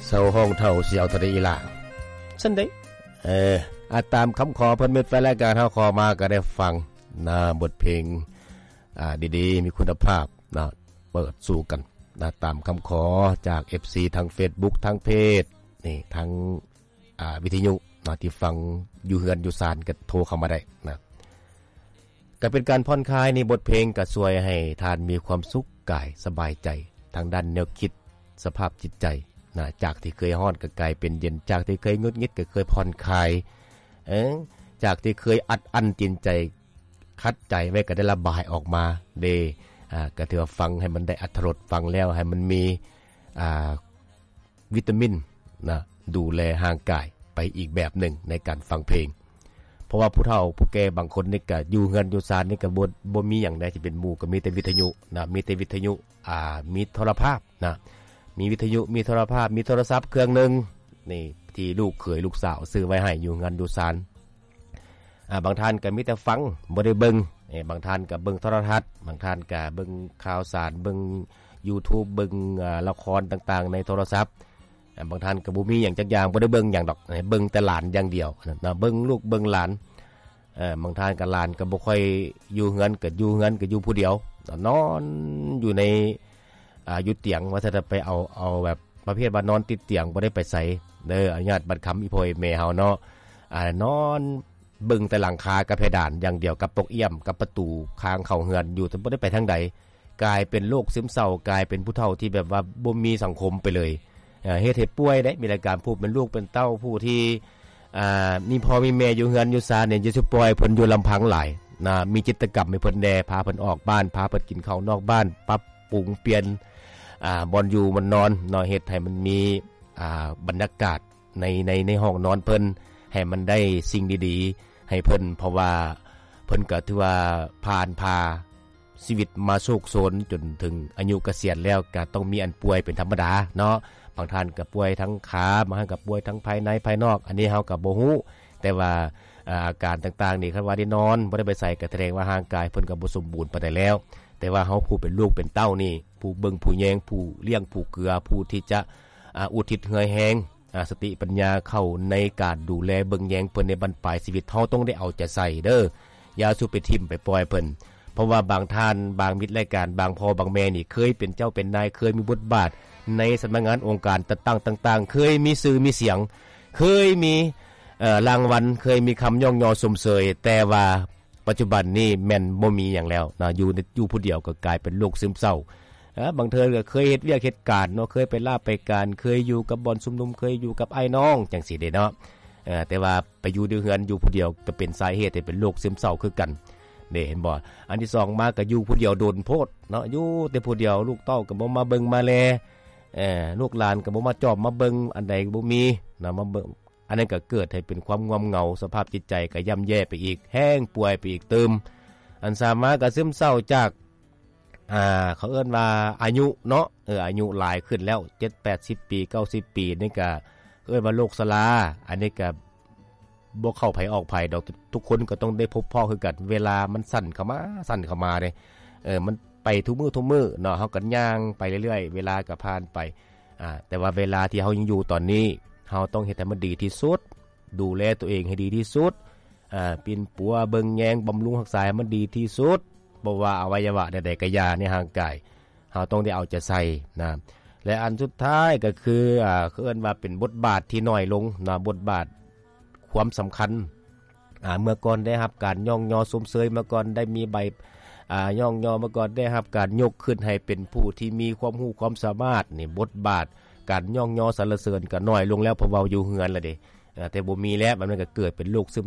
ເຊົາຫ້ອງເຖົ້າຊິເອົາເທົ່າໃດອີ່ຫຼ້າ? ຊັ້ນເດ້. ເອີ ອາ ຕາມຄຳຂໍເພິ່ນ ມິດແຟນລາຍການເຮົາຂໍມາກໍໄດ້ຟັງນະ ບົດເພງ ອາ ດີໆ ມີຄຸນນະພາບນະ ເປີດສູ່ກັນນະ ຕາມຄຳຂໍຈາກເອັຟຊີທາງເຟສບຸກ ທາງເພຈ ນີ້ ທາງ ອາ ວິທະຍຸນະ ທີ່ຟັງຢູ່ເຮືອນຢູ່ຊານກໍໂທເຂົ້າມາໄດ້ນະ. ກໍເປັນການຜ່ອນຄາຍໃນບົດເພງ ກໍຊ່ວຍໃຫ້ທ່ານມີຄວາມສຸກກາຍ ສະບາຍໃຈທາງດ້ານແນວຄິດ ສະພາບຈິດໃຈນະ ຈາກທີ່ເຄີຍຮ້ອນກໍກາຍເປັນເຢັນ ຈາກທີ່ເຄີຍຫງຸດຫງິດກໍເຄີຍຜ່ອນຄາຍ ເອີ ຈາກທີ່ເຄີຍອັດອັ້ນຈິດໃຈ ຂັດໃຈໄວ້ກໍໄດ້ລະບາຍອອກມາເດ້. ອາ ກໍຖືວ່າຟັງໃຫ້ມັນໄດ້ອັດຖະລົດ ຟັງແລ້ວໃຫ້ມັນມີ ອາ ວິຕາມິນນະ ດູແລຮ່າງກາຍໄປອີກແບບໜຶ່ງໃນການຟັງເພງ. ເພາະວ່າຜູ້ເຖົ້າຜູ້ແກ່ບາງຄົນນີ້ກະຢູ່ເຮືອນຢູ່ຊານນີ້ກະບໍ່ ບໍ່ມີຫຍັງໃດທີ່ເປັນໝູ່ ກະມີແຕ່ວິທະຍຸນະ ມີແຕ່ວິທະຍຸ ອາ ມີໂທລະພາບນະ ມີວິທະຍຸ ມີໂທລະພາບ ມີໂທລະສັບເຄື່ອງໜຶ່ງນີ້ ທີ່ລູກເຂີຍລູກສາວຊື້ໄວ້ໃຫ້ຢູ່ເຮືອນຢູ່ຊານ. ອາ ບາງທ່ານກໍມີແຕ່ຟັງ ບໍ່ໄດ້ເບິ່ງ. ເອີ ບາງທ່ານກໍເບິ່ງໂທລະທັດ ບາງທ່ານກໍເບິ່ງຂ່າວສານ ເບິ່ງຢູທູບ ເບິ່ງ ອາ ລະຄອນຕ່າງໆໃນໂທລະສັບ. ອາ ບາງທ່ານກໍບໍ່ມີຫຍັງຈັກຢ່າງ ບໍ່ໄດ້ເບິ່ງຫຍັງດອກ ເບິ່ງແຕ່ຫຼານຢ່າງດຽວນະ ເບິ່ງລູກເບິ່ງຫຼານ. ເອີ ບາງທ່ານກໍຫຼານກໍບໍ່ຄ່ອຍຢູ່ເຮືອນ ກໍຢູ່ເຮືອນກໍຢູ່ຜູ້ດຽວ ນອນຢູ່ໃນ ອາ ຢູ່ຕຽງ ວ່າຊັ້ນ ໄປເອົາ ເອົາແບບ ປະເພດວ່ານອນຕິດຕຽງ ບໍ່ໄດ້ໄປໃສເດີ ອະນຸຍາດບັດຄຳອີ່ພໍ່ອີ່ແມ່ເຮົາເນາະ. ອາ ນອນເບິ່ງແຕ່ຫຼັງຄາກັບເພດານຢ່າງດຽວ ກັບປົກອ້ຽມ ກັບປະຕູທາງເຂົ້າເຮືອນຢູ່ ແຕ່ບໍ່ໄດ້ໄປທາງໃດ ກາຍເປັນໂລກຊຶມເສົ້າ ກາຍເປັນຜູ້ເຖົ້າທີ່ແບບວ່າບໍ່ມີສັງຄົມໄປເລີຍ. ເຮັດໃຫ້ປ່ວຍເດ້ ມີລາຍການຜູ້ເປັນລູກເປັນເຕົ້າ ຜູ້ທີ່ ອາ ມີພໍ່ມີແມ່ຢູ່ເຮືອນຢູ່ຊານນີ້ ຢ່າຊິປ່ອຍເພິ່ນຢູ່ລຳພັງຫຼາຍນະ ມີກິດຈະກຳໃຫ້ເພິ່ນແດ່ ພາເພິ່ນອອກບ້ານ ພາເພິ່ນກິນເຂົ້ານອກບ້ານ ປັບປຸງປ່ຽນ ອາ ບ່ອນຢູ່ບ່ອນນອນເນາະ ເຮັດໃຫ້ມັນມີ ອາ ບັນຍາກາດໃນ ໃນ ໃນຫ້ອງນອນເພິ່ນ ໃຫ້ມັນໄດ້ສິ່ງດີໆໃຫ້ເພິ່ນ ເພາະວ່າເພິ່ນກໍຖືວ່າຜ່ານຜ່າຊີວິດມາໂຊກໂຊນຈົນເຖິງອາຍຸກະສຽນແລ້ວ ກໍຕ້ອງມີອັນປ່ວຍເປັນທຳມະດາເນາະ. ບາງທ່ານກໍປ່ວຍທັງຂາ ບາງທ່ານກໍປ່ວຍທັງພາຍໃນພາຍນອກ ອັນນີ້ເຮົາກໍບໍ່ຮູ້ ແຕ່ວ່າ ອາ ອາການຕ່າງໆນີ້ ຄັນວ່າໄດ້ນອນ ບໍ່ໄດ້ໄປໃສ ກໍສະແດງວ່າຮ່າງກາຍເພິ່ນກໍບໍ່ສົມບູນປານໃດແລ້ວ. ແຕ່ວ່າເຮົາຜູ້ເປັນລູກເປັນເຕົ້ານີ້ ຜູ້ເບິ່ງຜູ້ແຍງ ຜູ້ລ້ຽງຜູ້ເກືອ ຜູ້ທີ່ຈະ ອາ ອຸທິດເຫື່ອແຮງ ອາ ສະຕິປັນຍາເຂົ້າໃນການດູແລເບິ່ງແຍງເພິ່ນໃນບັ້ນປາຍຊີວິດ ເຮົາຕ້ອງໄດ້ເອົາໃຈໃສ່ເດີ ຢ່າສູ່ໄປຖິ້ມໄປປ່ອຍເພິ່ນ. ເພາະວ່າບາງທ່ານ ບາງມິດລາຍການ ບາງພໍ່ບາງແມ່ນີ້ ເຄີຍເປັນເຈົ້າເປັນນາຍ ເຄີຍມີບົດບາດໃນສຳນັກງານອົງການຈັດຕັ້ງຕ່າງໆ ເຄີຍມີຊື່ມີສຽງ ເຄີຍມີ ເອີ ລາງວັນ ເຄີຍມີຄຳຍ້ອງຍໍຊົມເຊີຍ ແຕ່ວ່າປັດຈຸບັນນີ້ແມ່ນບໍ່ມີຫຍັງແລ້ວນະ ຢູ່ ຢູ່ຜູ້ດຽວກໍກາຍເປັນໂລກຊຶມເສົ້າ. ເອີ ບາງເທື່ອກໍເຄີຍເຮັດວຽກເຮັດການເນາະ ເຄີຍໄປລາໄປການ ເຄີຍຢູ່ກັບບ່ອນຊຸມນຸມ ເຄີຍຢູ່ກັບອ້າຍນ້ອງຈັ່ງຊີ້ເດ້ເນາະ. ເອີ ແຕ່ວ່າໄປຢູ່ໃນເຮືອນ ຢູ່ຜູ້ດຽວກໍເປັນສາເຫດໃຫ້ເປັນໂລກຊຶມເສົ້າຄືກັນເດ້ ເຫັນບໍ່? ອັນທີສອງມາກໍຢູ່ຜູ້ດຽວດົນໂພດເນາະ ຢູ່ແຕ່ຜູ້ດຽວ ລູກເຕົ້າກໍບໍ່ມາເບິ່ງມາແລ ເອີ ລູກຫຼານກໍບໍ່ມາຈອບມາເບິ່ງ ອັນໃດກໍບໍ່ມີນະ ມາເບິ່ງ ອັນນັ້ນກໍເກີດໃຫ້ເປັນຄວາມງ່ວມເຫງົາ ສະພາບຈິດໃຈກໍຍ່ຳແຍ່ໄປອີກ ແຮ່ງປ່ວຍໄປອີກຕື່ມ. ອັນສາມມາກໍຊຶມເສົ້າຈາກ ອ່າ ເຂົາເອີ້ນວ່າອາຍຸເນາະ ເອີ ອາຍຸຫຼາຍຂຶ້ນແລ້ວ ເຈັດແປດສິບປີ ເກົ້າສິບປີ ນີ້ກໍເອີ້ນວ່າໂລກຊະລາ. ອັນນີ້ກໍບໍ່ເຂົ້າໃຜອອກໃຜດອກ ທຸກຄົນກໍຕ້ອງໄດ້ພົບພໍ້ຄືກັນ ເວລາມັນສັ້ນເຂົ້າມາ ສັ້ນເຂົ້າມາເດ້ ເອີ ມັນໄປທຸກມື້ທຸກມື້ເນາະ ເຮົາກໍຍ່າງໄປເລື້ອຍໆ ເວລາກໍຜ່ານໄປ. ອາ ແຕ່ວ່າເວລາທີ່ເຮົາຍັງຢູ່ຕອນນີ້ ເຮົາຕ້ອງເຮັດໃຫ້ມັນດີທີ່ສຸດ ດູແລຕົວເອງໃຫ້ດີທີ່ສຸດ ອາ ປິ່ນປົວເບິ່ງແຍງບຳລຸງຮັກສາໃຫ້ມັນດີທີ່ສຸດ ບໍ່ວ່າອະໄວຍະວະໃດໆກໍຢ່າໃນຮ່າງກາຍ ເຮົາຕ້ອງໄດ້ເອົາໃຈໃສ່ນະ. ແລະ ອັນສຸດທ້າຍກໍຄື ອາ ເອີ້ນວ່າເປັນບົດບາດທີ່ນ້ອຍລົງນະ ບົດບາດຄວາມສຳຄັນ ອາ ເມື່ອກ່ອນໄດ້ຮັບການຍ້ອງຍໍຊົມເຊີຍ ເມື່ອກ່ອນໄດ້ມີໃບ ອາ ຍ້ອງຍໍ ເມື່ອກ່ອນໄດ້ຮັບການຍົກຂຶ້ນໃຫ້ເປັນຜູ້ທີ່ມີຄວາມຮູ້ຄວາມສາມາດນີ້ ບົດບາດການຍ້ອງຍໍສັນລະເສີນກໍນ້ອຍລົງແລ້ວ ເພາະເວົ້າຢູ່ເຮືອນລະເດ້. ອາ ແຕ່ບໍ່ມີແລ້ວ ແບບນັ້ນກໍເກີດເປັນໂລກຊຶມ